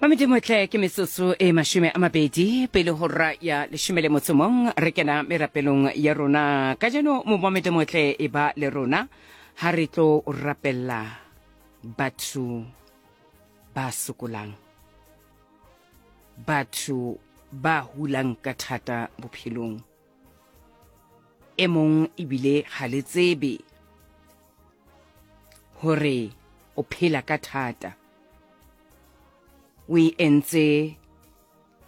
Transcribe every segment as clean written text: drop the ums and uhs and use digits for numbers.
Mamedimotle ke metsotso e 20 pele ho ra ya 11 re kena merapelong ya rona kajeno. Momamedimotle e ba le rona ha re tlo rapella batho ba sokolang, batho ba hulang ka thata bophelong. E mong ebile ga le tsebe hore o phela ka thata, o e entse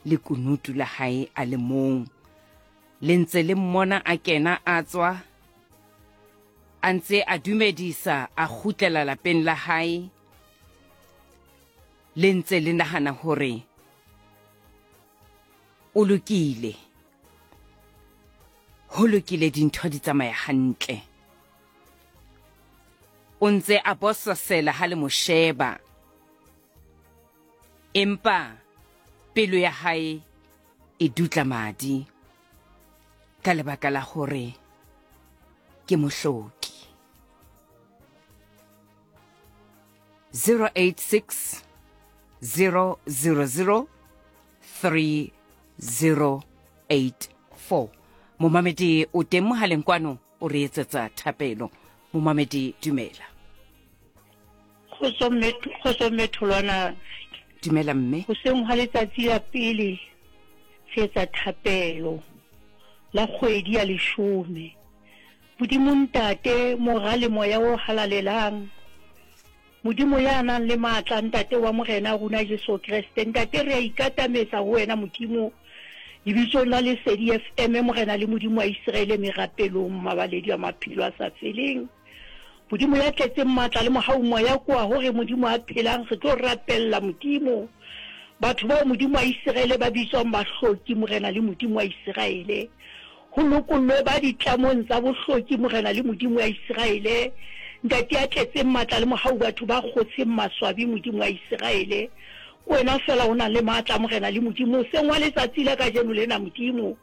lekunutu la hae a le mong. Le ntse le mmona a kena a tswa, a ntse a dumedisa a kgutlela lapeng la hae, le ntse le nahana hore o lokile, ho lokile, dintho di tsamaya hantle. O ntse a bososela ha le mo sheba, empa pelo ya hae e dutla madi ka lebaka la hore ke mohloki. 086 000 3084. Momamedi o teng mohaleng kwano, o re etsetsa thapelo. Momamedi, dumela. Kgotso mme Tholwana. Dumela mme. Hoseng hwa letsatsi la pele re etsa thapelo la kgwedi ya leshome. Modimo Ntate, Mora le Moya o Halalelang, Modimo ya nang le matla, Ntate wa Morena rona Jesu Kreste, Ntate re a ikatametsa ho wena Modimo, lebitsong la Lesedi FM, Morena le Modimo wa Iseraele, merapelong, Mmabaledi wa maphelo a sa feleng. Modimo ya tletseng matla le mohau, Moya koa hore Modimo a phelang, re tlo rapella Modimo batho bao Modimo wa Iseraele ba bitswang bahloki, Morena le Modimo wa Iseraele. Ho lokollwe ba ditlamong tsa bohloki, Morena le Modimo wa Iseraele, Ntate ya tletseng matla le mohau, batho ba kgotsheng maswabi, Modimo wa Iseraele. Ke wena feela o nang le matla, Morena le Modimo. Hoseng wa letsatsi la kajeno lena, Modimo,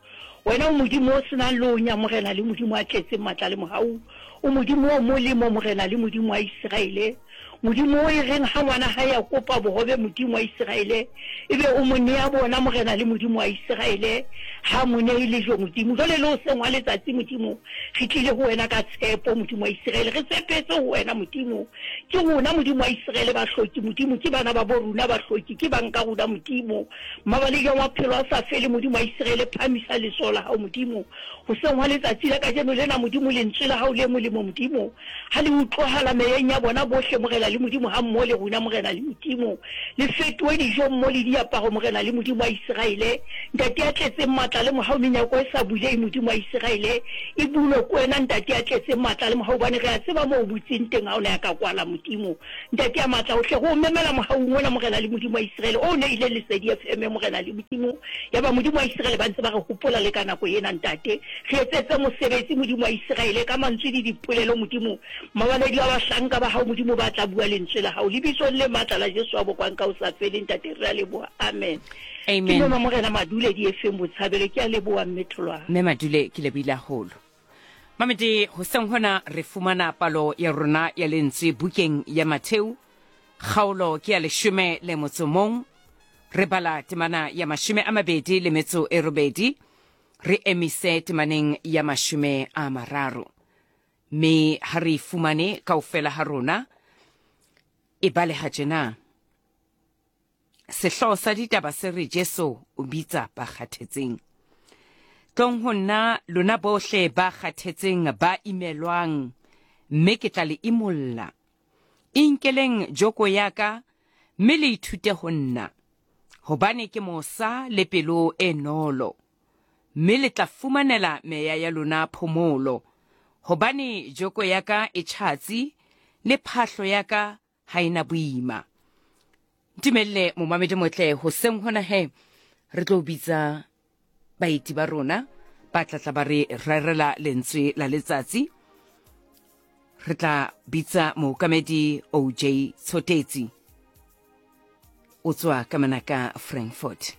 wena o Modimo o se nang lonya, Morena le Modimo ya tletseng matla le mohau. O Modimo o molemo, Morena le Modimo wa Iseraele. Modimo o e reng ha ngwana hae a kopa bohobe, Modimo wa Iseraele, ebe o mo nea bona, Morena le Modimo wa Iseraele, ha a mo nee lejwe, Modimo. Jwale le hoseng hwa letsatsi, Modimo, re tlile ho wena ka tshepo, Modimo wa Iseraele, re tshepetse ho wena, Modimo. Ke rona, Modimo wa Iseraele, bahloki, Modimo, ke bana babo rona, bahloki, ke bang ka rona, Modimo. Mabaledi a maphelo a sa fele, Modimo wa Iseraele, phahamisa letsoho la hao, Modimo. Hoseng hwa letsatsi la kajeno lena, Modimo, lentswe la hao le molemo, Modimo, Ha le utloahala meyeng ya bona bohle, Morena le Modimo, hammoho le rona, Morena le Modimo. Le fetohe dijo mmo le diaparo, Morena le Modimo wa Iseraele. Ntate ya tletseng matla le mohau, menyako e sa bulehi, Modimo wa Iseraele, e bulwe ke wena, Ntate ya tletseng matla le mohau, hobane re a tseba moo o butseng teng, ha o na ya ka kwala, Modimo. Ntate ya matla ohle, re o memela mohaung ona, Morena le Modimo wa Iseraele, o neileng Lesedi FM, Morena le Modimo. Yaba Modimo wa Iseraele ba ntse ba re hopola le ka nako ena, Ntate. Re etsetse mosebetsi, Modimo wa Iseraele, ka mantswe le dipolelo, Modimo, mabaledi a bahlanka ba Hao, Modimo, ba tla bua Lentswe la Hao. Lebitsong le matla la Jesu wa bokwang ka ho sa feleng, Ntate, re a leboha. Amen. Amen. Ke Mema Morena Madule Diefeng Botshabelo. Ke a leboha, Mme Tholwana. Mme Madule, ke lebohile haholo. Mamedi, hoseng hona re fumana palo ya rona ya lentswe bukeng ya Matheu, kgaolo ke ya 11, re bala temana ya 28, re emise temaneng ya 30. Mme ha re e fumane kaofela ha rona, e baleha tjena. Sehlooho sa ditaba se re Jesu o bitsa ba kgathetseng. Tlong ho nna lona bohle ba kgathetseng ba imelwang, mme ke tla le imolla. Inkeleng joko ya ka mme le ithute ho nna, hobane ke mosa le pelo e nolo, mme le tla fumanela meya ya lona phomolo, hobane joko ya ka e tjhatsi le phahlo ya ka ha e na boima. Ntumelle momamedi motle, hoseng hona he re tlo bitsa baeti ba rona ba tla tla ba re rerela lentswe la letsatsi. Re tla bitsa mookamedi OJ Tshotetsi, o tswa ka mona ka Frankfurt.